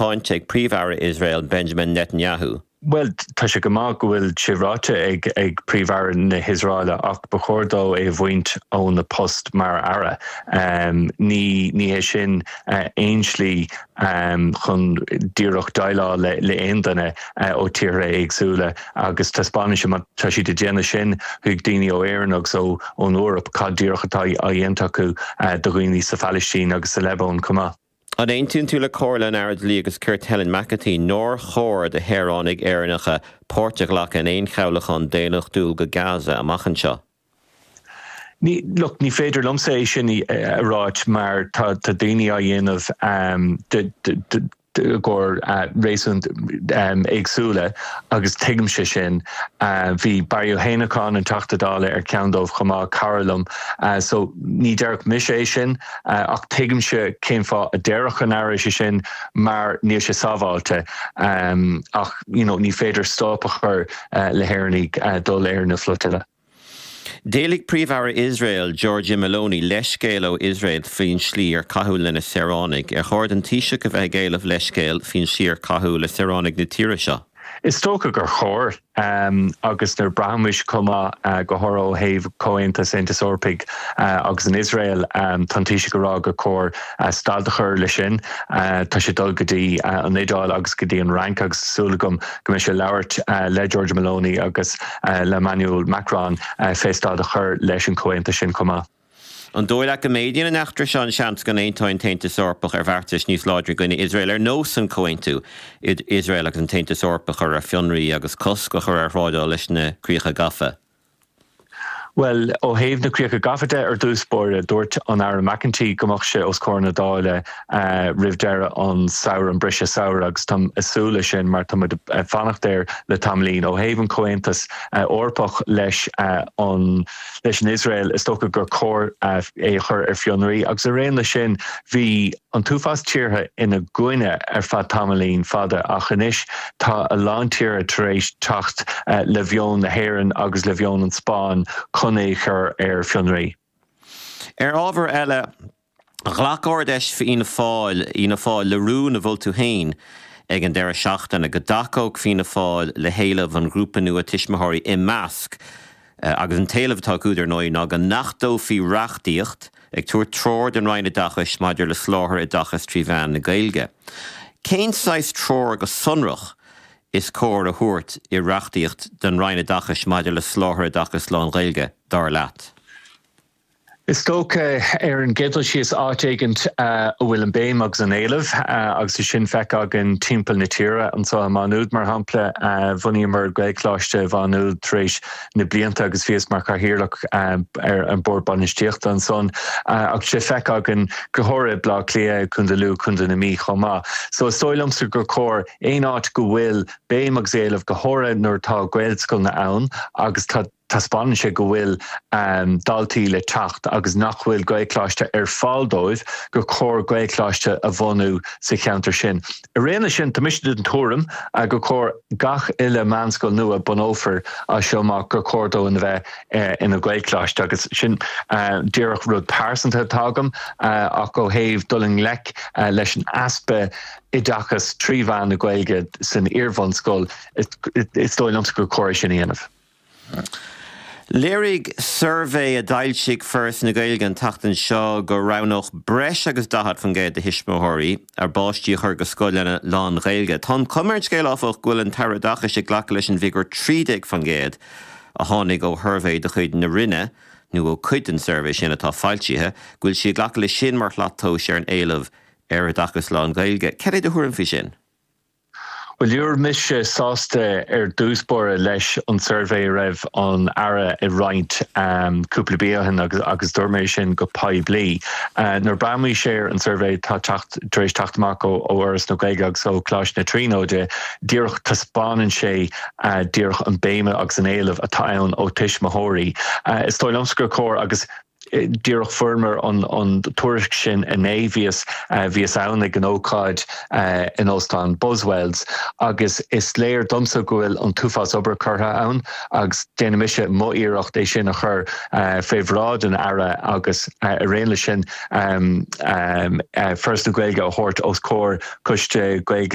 Cáinte ag Príomh-Aire Iosrael Benjamin Netanyahu. Bhuel, tá sé go maith go bhfuil sé ráite ag ag Príomh-Aire na hIosraeile ach ba chóir dó é a bhaint óna post mar aire. Ní ní hé sin aon slí chun díreach déileáil le le aon duine ó tíortha éagsúla agus taispeánann sé má tá siad ag déanamh sin chuig daoine ó Éirinn agus ó ón Eoraip cad díreach atá á dhéanamh acu do dhaoine sa Phalaistín agus sa Liobáin chomh maith. An aontaíonn tú le comhairle an Aire Dlí agus Cirt Helen McEntee nár chóir do shaoránaigh Éireannacha páirt a ghlacadh in aon chabhlachán daonnachtúil go Gaza amach anseo? Ní, look, ní féidir liomsa é sin a ráit mar tá daoine á dhéanamh de, de, i gcomhair réasúin éagsúla agus tuigimse sin. Bhí Barry Ó hÉineacháin, an Teachta Dála, ar cheann dóibh chomh maith, cara liom. So ní déarfadh mise é sin ach tuigimse cén fáth a déarfadh an Aire sé sin mar níl sé sábháilte ach you know ní féidir stop a chur le hÉireannaigh dul ar na flotilla. D'éiligh Príomh-Aire Iosrael, Giorgia Meloni, leithscéal ó Iosrael faoin slí ar caitheadh lena saoránaigh. Ar chóir don Taoiseach a bheith ag éileamh leithscéil faoin slí ar caitheadh le saoránaigh na tíre seo? Is dócha gur chóir, agus nuair braithimid chomh maith, go háirithe ó thaobh Comhaontas Aontais Eorpaigh agus an Iosrael, tá an Taoiseach ag rá gur chóir stad a chur leis sin. Tá sé ag dul go dtí an Iodáil agus go dtí an Fhrainc agus tá súil agam go mbeidh sé ag labhairt le Giorgia Meloni agus le Emmanuel Macron fé stad a chur leis an chomhaontas sin chomh maith. An dóigh leat go méadaíonn an eachtra seo an seans go n-aontóidh an tAontas Eorpach ar bheartais níos láidre i gcoinne Iosrael, ar nós an comhaontú idir Iosrael agus an tAontas Eorpach a chur ar fionraí agus cosc a chur ar thrádáil leis na críocha gafa? Bhuel, ó thaobh na críocha gafa de, ar dtús báire, dúirt an Aire McEntee go mbeadh sé os comhair na Dála roimh deireadh an samhradh, an briseadh samhraidh, agus táim ag súil leis sin mar tá muid ag fanacht air le tamaillín. Ó thaobh an Comhaontas Eorpach leis an leis an Iosrael, is dócha gur chóir é a chur ar fionraí agus ar aon leis sin, bhí an t-uafás tíortha ina gcoinne ar feadh tamaillín fada ach anois tá a lán tíortha tar éis teacht le mheon na hÉireann agus le mheon an Spáinn chun é a chur ar fionraí. Ar ábhar eile, ghlac Ard-Fheis Fhianna Fáil, Fhianna Fáil le rún a mhol tú féin ag an deireadh seachtaine go dtacódh Fianna Fáil le héileamh an ghrúpa nua tuismitheoirí Imeasc agus an t-éileamh atá acu, dar ndóigh, ná go n-achtófaí reachtaíocht ag tabhairt treoir don Roinn Oideachais maidir le soláthar oideachais trí mheán na Gaeilge. Cén saghas treoir go sonrach is cóir a thabhairt i reachtaíocht don Roinn Oideachais maidir le soláthar oideachais lán-Ghaeilge, dar leat? Is dócha, ar an gcéad dul síos, áit éigint a bhfuil an béim agus an éileamh, agus é sin feicthe againn timpeall na tíre. Anseo i Má Nuad, mar shampla, bhunaíomar Gaelcholáiste Mhá Nuad tar éis na blianta agus bhíos mar chathaoirleach ar an Bord Bainistíochta ansan. Ach tá sé feicthe againn go háirithe i Bleá Cliath, Contae Lú, Contae na Mí chomh maith. So is dóigh liomsa gur chóir aon áit go bhfuil béim agus éileamh, go háirithe nuair atá Gaelscoileanna ann agus tá, taispeánann sé go bhfuil daltaí le teacht agus nach bhfuil Gaelcholáiste ar fáil dóibh, gur chóir Gaelcholáiste a bhunú sa cheantar sin. Ar aon leis sin, tá mise den tuairim gur chóir gach uile meánscoil nua a bunófar as seo amach gur chóir dó ina bheith ina Ghaelcholáiste agus sin díreach rud pearsanta atá agam ach ó thaobh dul i ngleic leis an easpa oideachas trí mheán na Gaeilge san iarbhunscoil, is dóigh liomsa gur chóir é sin a dhéanamh. Léirigh suirbhé a d'fhoilsigh Foras na Gaeilge an tseachtain seo go roghnódh breis agus 40% de thuismitheoirí a bpáistí a chur go scoileanna lán-Ghaeilge. Tá an chuma ar an scéal, áfach, go bhfuil an tAire Oideachais ag glacadh leis an bhfigiúr 13% a tháinig ó shuirbhé de chuid na Roinne, nó ó chuid den suirbhé sin atá foilsithe, go bhfuil sí ag glacadh leis sin mar shlat tomhais ar an éileamh ar oideachas lán-Ghaeilge. Cad é do thuairim faoi sin? Bhuel, ní raibh mise sásta ar dtús báire leis an suirbhé a raibh an Aire ag roinnt cúpla mí ó shin agus dúirt mé sin go poiblí. Nuair a breathnaímid ar an suirbhé atá tar éis teacht amach ó Fhoras na Gaeilge agus ó Choláiste na Tríonóide, díreach taispeánann sé díreach an béim agus an éileamh atá ann ó tuismitheoirí. Is dóigh liomsa gur chóir agus. Díreach fuaireamar an tuairisc sin inné, bhíos bhíos ann ag an ócáid in Óstán Buswells agus is léir domsa go bhfuil an t-uafás obair curtha ann agus déanfaidh mise mo iarracht é sin a chur fé bhráid an Aire agus ar aon leis sin Foras na Gaeilge a thabhairt os comhair Coiste Gaeilge.